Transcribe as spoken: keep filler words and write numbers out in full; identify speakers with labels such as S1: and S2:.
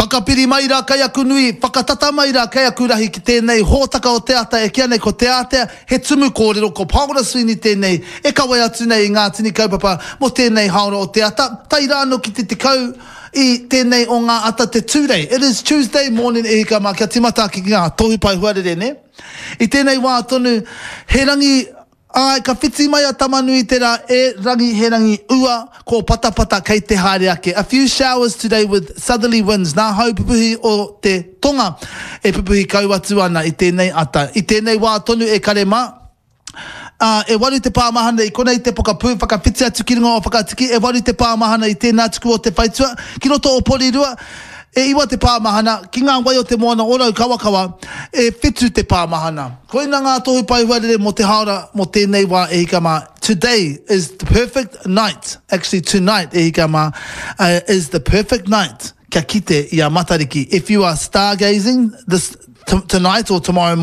S1: Whakapiri mai rā kei aku nui, whakatata mai rā kei aku rahi ki tēnei hōtaka o te ata e kīa nei ko Te Ātea, he tumu kōrero ko Paora Sweeney tēnei e kawe atu nei i ngā tini kaupapa mō tēnei haora o te ata, tae rā anō ki te tekau i tēnei o ngā ata te Tūrei. It is Tuesday morning e hika mā, kia tīmata ake ki ngā tohu pae huarere nē. I tēnei wā tonu, he rangi Āe, ka whiti mai a Tamanui-te-rā, e rangi he rangi ua, ko Patapata kei te haere ake. A few showers today with southerly winds, nā hau pupuhi o te tonga e pupuhi kau atu ana i tēnei ata. I tēnei wā tonu e kare mā, ā, e waru te pā mahana i konei te pokapū, whakawhiti atu ki runga o Whakatiki, e waru te pā mahana i tēnā tuku o te whaitua, ki roto o Porirua, E iwa te pā mahana, ki ngā wai o te moana o Raukawakawa, e whitu te pā mahana. Koina ngā tohu pae huarere mō te haora mō tēnei wā e hika mā. Today is the perfect night, actually tonight e hika mā, is the perfect night kia kite i a Matariki. If you are stargazing this tonight or tomorrow morning,